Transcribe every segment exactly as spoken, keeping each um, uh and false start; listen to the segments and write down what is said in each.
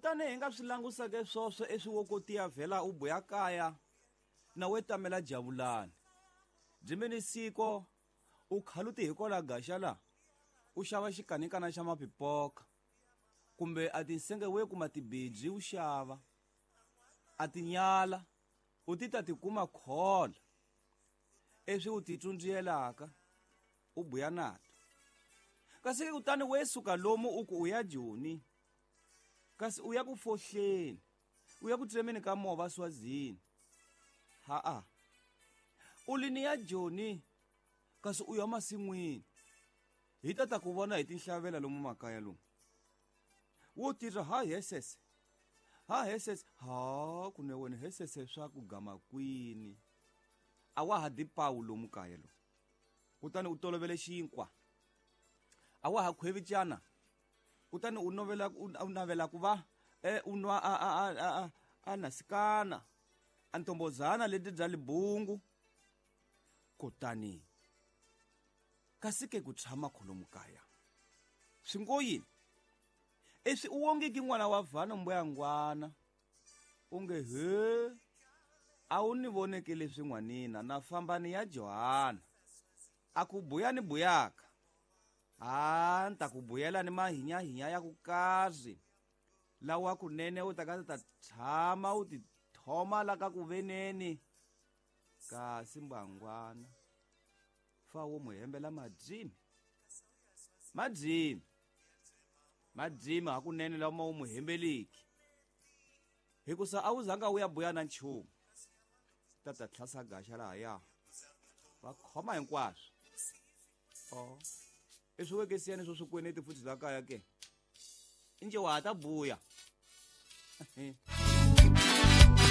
Kutani hi nga swi langusake swoswo eswiwokotiya vhela u buya kaya na we tamela javulani. Dzimeni siko u khaluti hi kola gaxa la u xava xikanikana xa mapipoka kumbe a tinsenge we kuma tibidzi u xava a tinyala u ti ta tikuma khola eswi u titsundziyelaka u buya nato. Kasi kutani we suka lomu u ku u ya Joni kasi u ya ku fohleni u ya ku tsemeni ka mova Swazini. Ha-a u lini ya Joni kasi u ya masin'wini hi ta ta ku vona hi tinhlavela lomu makaya lomu wo tirha ha hesese ha hesese ha kune wena hesese swa ku gama kwini a wa ha dipawu lomu kaya lomu. Kutani u tolovele xinkwa a wa ha khwevicana kutani u novela u navela ku va e u nwa a a a a a nasikana a ntombozana leti bya libungu. Kutani kasi ke ku tshama kholomu kaya swi ngo yini eswi u wongiki n'wana wa vhana mbuyangwana u nge he a wu ni voneke leswi n'wanina na fambani ya Johana a ku buya ni buyaka a ni ta ku buyela ni mahinyahinya ya ku kazi lawa kunene u ta ka ta tshama u ti thoma la ka ku veneni kasi mbangwana fa wo mu hembela madzimi madzimi madzimi hakunene lama u mu hembeliki hikusa a wu zanga u ya buya na nchumu ta ta tlhasa gaxa lahaya va khoma hinkwaswo. O i swi wekesiyani swo swikweneti futhi la kaya ke inje wa ha ta buya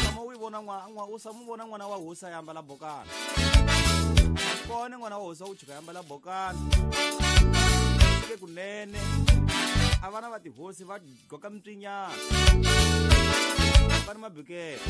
tshama u yi vona n'wana u samu vona n'wana wa hosi a ya ambala bokana kona n'wana wa hosi u chika ambala bokana ke kunene a vana va tihosi va gqoka mitswinyana va ni mabikele.